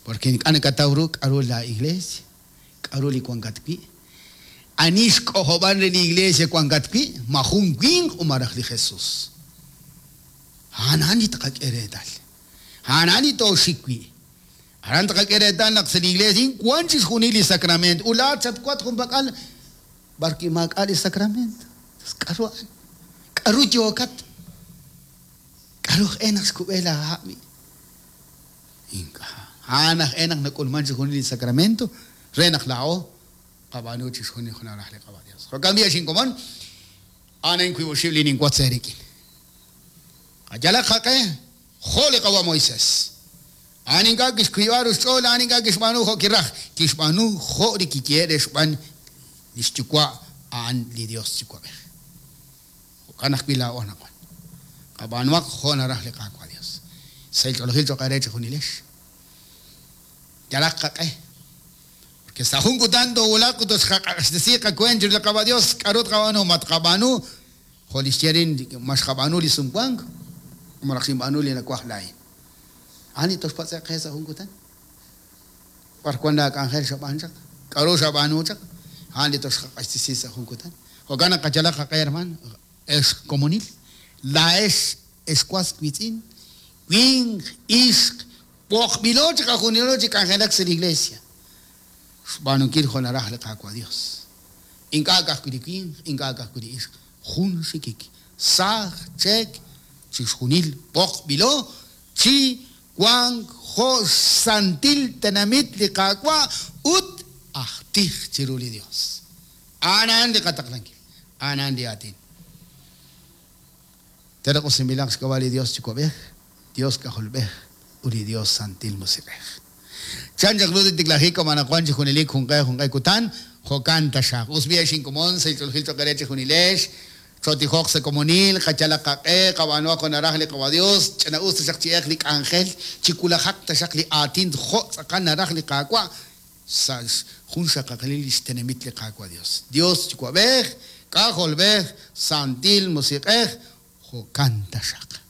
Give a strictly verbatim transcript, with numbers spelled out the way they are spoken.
Porque ink'a' nakataw ru k'a'ru la iglesia, k'a'ru li wankat wi'. Ani xk'ojob'an re li iglesia wankat wi', ma jun winq o maraj li Jesús. A'an li tqak'e reetal. A'an li tooxik wi'. Aran tqak'e reetal naq sa' li iglesia wan chixjunil li sacramento. Ulaat chatwat junpak'al b'arwi' maak'a' li sacramento. K'a'ru a'an? K'a'ru yookat? K'a'ru aj naq xkub'e laaha' wi'? Ink'a'. A'an aj naq nak'ulman chixjunil li sacramento re naq laa'o qab'aanu chixjunil jun raj li Qaawa' Dios. Jo'kan b'i' xinkomon a'an wiib' oxib' li ninwotz eerik'in. Qayalaq qaq'e jo' li Qawa' Moisés. A'an ink'a' kixkuyb'a ruxch'ool, a'an ink'a' kixb'aanu jo' kiraj. Kixb'aanu jo' li kiyehe' xb'aan li xyuwa' a'an li Dios yuwa'b'ej. Jo'kan ajwi' laa'o anaqwan. Qab'aanuaq jo' naraj li Qaawa' Dios. Sa' ch'oolejil cho'q eere chejunilex. Yalaq qaq'e. Porque sa' jun kutan toowulaq ut toxqaq'axtesi qakuent chiru li Qaawa' Dios, k'a'ru tqab'aanu? Ma tqab'aanu jo' li xye rin ma xqab'aanu li sumwank o malaj xinb'aanu li nawaj laa'in. A'an li toxpatz'eq qe sa' jun kutan. B'ar wan laak'anjel xab'aan chaq? K'a'ru xab'aanu chaq? A'an li toxqaq'axtesi sa' jun kutan. Jo'kan naq qayalaq qaq'e, hermano, ex komonil, laa'ex ex was wiitz'in, winq, ixq, b'oqb'ilo chi qajunilo chi k'anjelak sa' li iglesia. Xb'aanunkil jo' naraj li Qaawa' Dios. Ink'a' ka'ajwi' li winq, ink'a' ka'ajwi' li ixq, jun xikik, saaj, cheek, chixjunil b'oqb'ilo chi wank jo' xsantil tenamit li Qaawa' ut aj tij chiru li Dios. A'an a'an li qataqlankil, a'an a'an li aatin. Teraq usinb'ilaq xk'ab'a' li Dios yuwa'b'ej, Dios k'ajolb'ej ut li Dios santil musiq'ej. Chan chaq ru tiklajik anaqwan chi junelik junqe junqe kutan, jo'kan taxaq. Us b'i' xinkomon sa' ch'oolejil cho'q eere chejunilex, chotijoq sa' komonil, qayalaq qaq'e, qab'aanuaq jo' naraj li Qaawa' Dios, ch'ina'us taxaq chi'eq li k'anjel, chiwulajaq taxaq li aatin jo' tz'aqal naraj li Qaawa' sa' jun xaqaqalil li xtenamit li Qaawa' Dios. Dios yuwa'b'ej, k'ajolb'ej, santil musiq'ej, jo'kan taxaq.